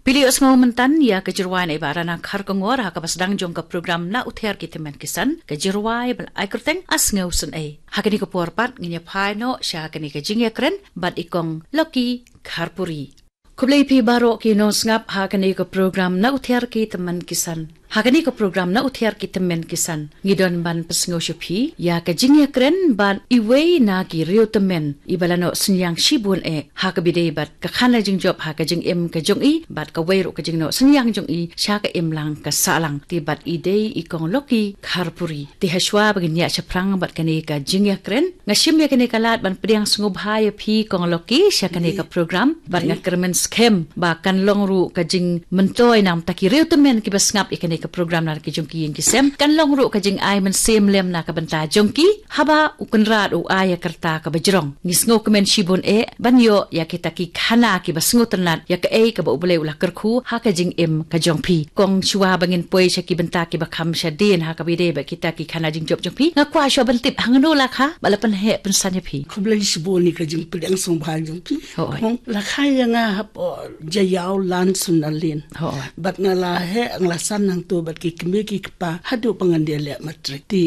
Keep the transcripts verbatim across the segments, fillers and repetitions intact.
Phi la ïohsngew mynta ïa ka jingrwai na i Bah Rana Kharkongor ha kaba sdang jong ka program Na U Thiar Ki Tymmen Ki San, ka jingrwai ba la ai kyrteng A Sngew Sngewsih. Ha kane ka por pat ngin ïa phai noh sha kane ka jingïakren bad i Kong Lucky Kharpuri. Khublei phi baroh ki nongsngap ha kane ka program Na U Thiar Ki Tymmen Ki San. Ha kane ka program Na U Thiar Ki Tymmen Ki San, ngi don ban pynsngew sha phi ïa ka jingïakren bad iwei na ki riewtymmen iba la noh synñiang shibun eh ha kaba ïadei bad ka khana jingjop ha ka jingim ka jong i bad kawei ruh ka jingnoh synñiang jong i sha ka imlang ka sahlang. Te bad i dei i Kong Lucky Kharpuri. Te hashwa ba ngin ïaid shaphrang bad kane ka jingïakren, nga shim ïa kane ka lad ban pdiang sngewbha ïa phi Kong Lucky sha kane ka program bad nga kyrmen skhem ba kan long ruh ka jingmyntoi na bynta ki riewtymmen kiba sngap ïa kane ka program na ki jong ki ïing ki sem. Kan long ruh ka jingai mynsiem lem na ka bynta jong ki haba u Kynrad u ai ïa ka rta kaba jrong. Ngi sngewkmen shibun eh ban ïoh ïa kita ki khana kiba sngewtynnat ïa kaei kaba U Blei u la kyrkhu ha ka jingim ka jong phi. Kong, shuwa ba ngin poi sha ki bynta kiba kham shadien ha kaba ïadei bad kita ki khana jingjop jong phi, nga kwah shuwa ban tip hangno la kha ba la pynheh pynsan ïa phi. Khublei shibun ïa ka jingpdiang sngewbha jong phi. Hooid. Kong, la kha ïa nga hapoh Jaïaw Lan Sunalin. Hooid. Bad nga la heh, nga la san hangto bad ki kmie ki kpa haduh ba ngan ïaleh matrik. Te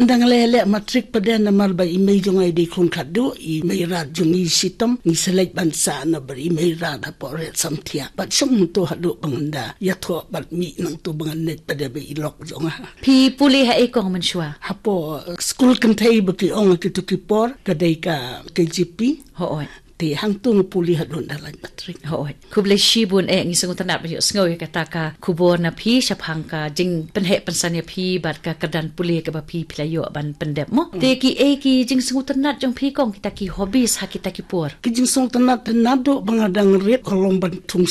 ynda nga la ïaleh matrik pat de namar ba i mei jong nga i dei khun khatduh, i Meirad jong ngi shitom, ngi sa leit ban sah na bad i Meirad hapoh Riat Samthiah. Bad shong hangto haduh ba ngan da ïathoh bad mih nangto ba ngan leit pat de bad i lok jong nga. Phi pule ha ei Kong mynshuwa? Hapoh skul kynthei ba ki ong ha kito ki por ka dei ka K J P. Hooid. Te hangto nga pule haduh ynda leit matrik. Hooid. Khublei shibun eh, ngi sngewtynnat ban ïohsngew ïa kata ka khubor na phi shaphang ka jingpynheh pynsan ïa phi bad ka kyrdan pule kaba phi, phi la ïoh ban pyndep mo. Te kiei ki jingsngewtynnat jong phi Kong, kita ki hobbies ha kita ki por? Ki jingsngewtynnat, naduh ba nga dang rit ka long ban thung